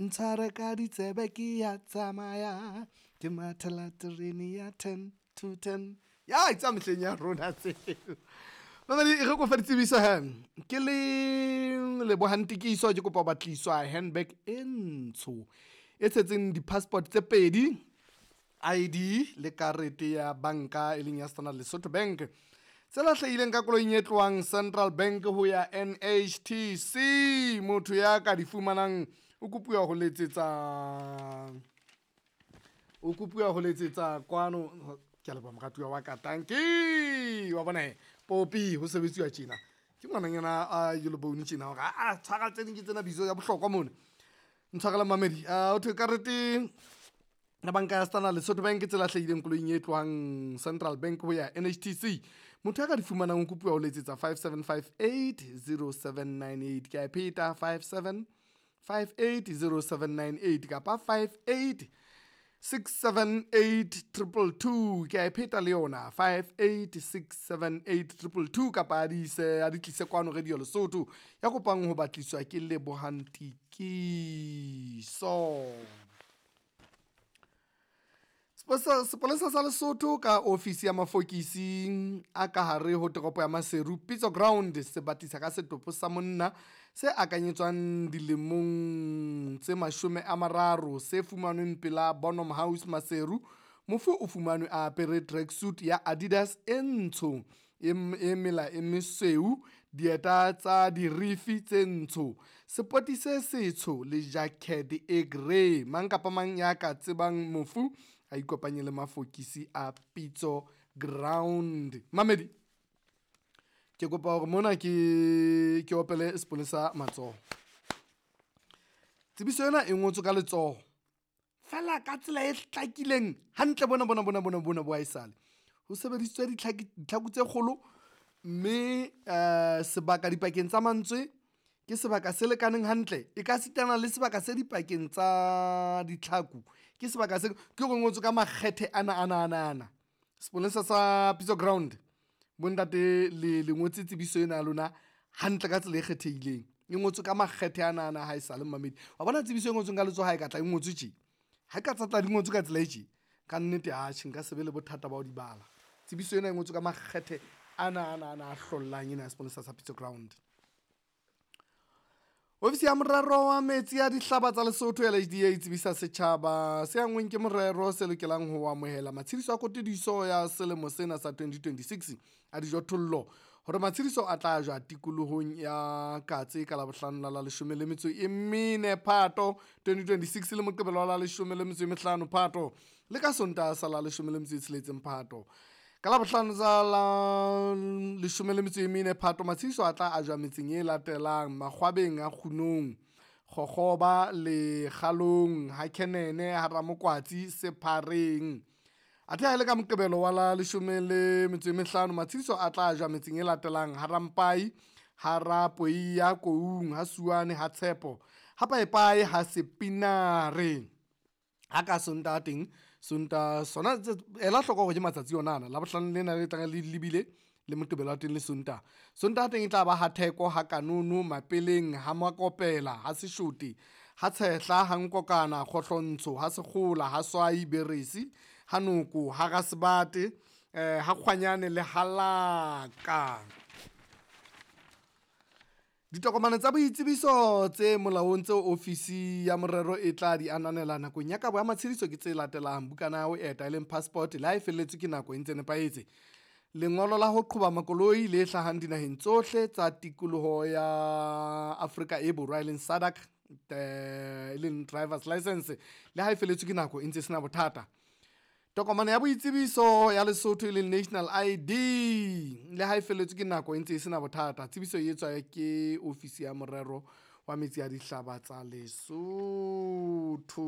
Ntshware ka ditsebe ke ya tsamaya, ke mathela terene ya 9:50. Ya tsa mehleng ya rona tseo. Mamedi, e re ke o fe ditsebiso he. Ke le Lebohang Tikiso, ke kopa ho batliswa handbag e ntsho e tshetseng di-passport tse pedi, ID le karete ya banka e leng ya Standard Lesotho Bank, tse lahlehileng ka koloing e tlohang Central Bank ho ya NHTC. Motho ya ka di fumanang o kopuwa ho letsetsa, o kopuwa ho letsetsa kwano. Ke a leboha moratuwa wa ka, tanki wa bona he popi ho sebetsiwa tjena. Ke ngwananyana a yellow bone tjena hore aa tshwara tse ding ke tsena bizo ya bohlokwa mona. Ntshwarele mamedi, ho thwe karete ya banka ya Standard Lesotho Bank tse lahlehileng koloing e tlohang Central Bank ho ya NHTC. Motho ya ka di fumanang o kopuwa ho letsetsa 5758 0798. Ke a e pheta, 5758 0798 kapa 58 678 222. Ke a e pheta le yona, 58 678 222, kapa a di ise, a di tlise kwano Radio Lesotho. Ya kopang ho batliswa ke Lebohang Tikiso. Sepolesa sa Lesotho ka ofisi ya mafokisi a ka hare ho toropo ya Maseru Pitso Ground se batlisa ka setopo sa monna se akanyetswang dilemong tse 30 se fumanweng pela Bonham House Maseru. Mofu o fumanwe a apere tracksuit ya Adidas e ntsho e mela e mesweu, dieta tsa dirifi tse ntsho, sepoti se setsho le jacket e grey. Mang kapa mang ya ka tsebang mofu a ikopanye le mafokisi a Pitso Ground. Mamedi, ke kopa hore mona ke opele sepolesa matsoho. Tsebiso ena e ngotswe ka letsoho fela ka tsela e hlakileng hantle. Bona bona bona bona bona bo haesale ho sebedisitswe ditlhaku tse kgolo, mme sebaka dipakeng tsa mantswe ke sebaka se lekaneng hantle, e ka sitana le sebaka se dipakeng tsa ditlhaku ke sebaka se, ke hore ngotswe ka makgethe ana ana ana ana. Sepolesa sa Pitso Ground, bontate le ngotse tsebiso ena ya lona hantle ka tsela e kgethehileng. E ngotswe ka makgethe ana ana ha esale momamedi wa bona tsebiso e ngotsweng ka letsoho ha e ka tla e ngotswe tje, ha e ka tsa tla di ngotswe ka tsela e tje, ka nnete atjhe nka se be le bothata ba ho di bala. Tsebiso ena e ngotswe ka makgethe ana ana ana a hlollang ena ya sepolesa sa Pitso Ground. Ofisi ya morero wa metsi a dihlaba tsa Lesotho LHDA e tsebisa setjhaba se anngweng ke morero se lokelang ho amohela matshediso a kotudiso ya selemo sena sa 2026 a dijothollo hore matshediso a tla jwa tikolohong ya Katse ka Labohlano la la 14 Phato 2026 le Moqebelo wa la 15 Phato le ka Sontaha sa la 16 Phato. Ka Labohlano tsa la 14 Phato matshediso a tla ajwa metseng e latelang: Makgwabeng a Kgunong, Kgokgoba, Lekgalong, ha Khenene, ha Ramokwatsi, Sephareng. Athe ha e le ka Moqebelo wa la 15 matshediso a tla ajwa metseng e latelang: ha Rampai, ha Rapoiya, Koung, ha Suane, ha Tshepo, ha Paepae, ha Sepinare. Ha ka Sontaha teng, Sontaha sona ela hloko hore ke matsatsi ona ana, Labohlano lena le tlang le lebile le Moqebelo wa teng le Sontaha. Sontaha teng e tla ba ha Theko, ha Kanono, Mapeleng, ha Makopela, ha Seshote, ha Tshehla, ha Nkokana, Kgohlontsho, ha Sekgola, ha Swai, Beresi, ha Noko, ha Rasebate, ha Kgwanyane le ha Laka. Ditokomane tsa boitsebiso tse molaong tseo ofisi ya morero e tla di ananela nakong ya kabo ya matshediso ke tse latelang: bukana ya ho eta e leng passport le ha e felletswe ke nako e ntse nepahetse, lengolo la ho qhoba makoloi le hlahang dinaheng tsohle tsa tikoloho ya Afrika e Borwa e leng SADC, e leng drivers licence le ha e felletswe ke nako e ntse e sena bothata, tokomane ya boitsebiso ya Lesotho e leng national ID le ha e felletswe ke nako e ntse e sena bothata. Tsebiso e etswa ke ofisi ya morero wa metsi a dihlaba tsa Lesotho.